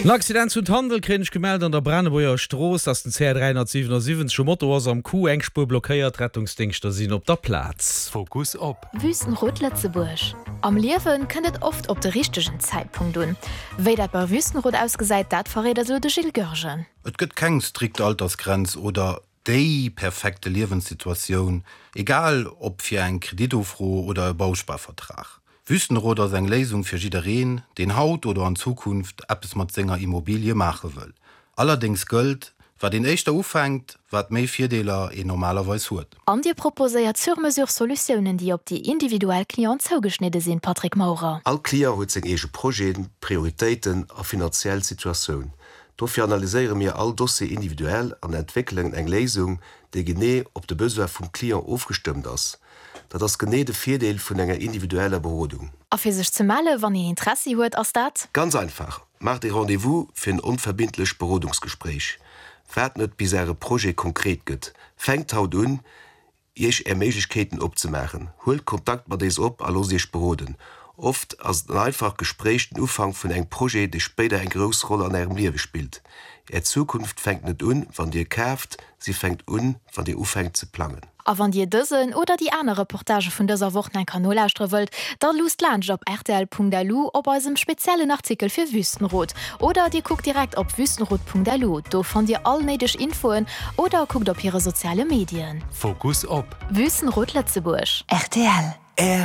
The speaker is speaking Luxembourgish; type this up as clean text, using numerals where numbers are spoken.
En Accident zu Tandel kréien ech gemellt an der Branebuerger Strooss, ass den CR 377 um Moto ass am Coup, eng Spuer blockéiert, d'Rettungsdéngschter sinn op der Plaz. Fokus op. Wüstenrot Lëtzebuerg. Am Liewe kënnt et oft op de richtegen Zäitpunkt un. Wéi dat bei Wüstenrot ausgesäit, dat verréit eis elo de Gilles Goergen. Et gëtt keng strikt Altersgrenz oder déi perfekte Liewenssituatioun, egal ob fir eng Kreditufro oder e Bausparvertrag. Wüstenrot ass eng Léisung fir jiddereen, deen haut oder an Zukunft eppes mat senger Immobilie maache wëll. Allerdéngs gëllt, Wat een éischter ufänkt, wat méi Virdeeler een normalerweis huet. An Dir proposéiert sur-mesure Solutiounen, déi op déi individuell Clienten zougeschnidde sinn, Patrick Maurer? All Client huet seng eege Projeten, Prioritéiten a finanziell Situatioun. Dofir analyséiere mir all Dossier individuell an entwéckelen eng Léisung, déi genee op de Besoin vum Client ofgestëmmt ass. Dat ass genee de Virdeel vun enger individueller Berodung. A fir sech ze melle wann een Interessi huet, ass dat? Ganz einfach, Maacht ee Rendez-vous fir en onverbindlecht Berodungsgespréich. Waart net bis äre Projet konkret gëtt. Fänkt haut un, Iech Är Méiglechkeeten opzemaachen. Huelt Kontakt mat éis op a loosst Iech beroden. Oft ass en einfacht Gespréich den Ufank vun engem Projet, dee spéider eng grouss Roll an Ärem Liewe spillt. Är Zukunft fänkt net un, wann Dir kaaft, si fänkt un, wann Dir ufänkt ze plangen. A wann Dir dësen oder déi aner Reportagë vun dëser Woch nach eng Kéier nolauschtere wëllt, da luusst laanscht op rtl.lu op eisem speziellen Artikel fir Wüstenrot. Oder Dir kuckt direkt op wüstenrot.lu, do fannt Dir all néideg Infoen, oder kuckt op hire soziale Medien. Fokus op. Wüstenrot Lëtzebuerg. Rtl.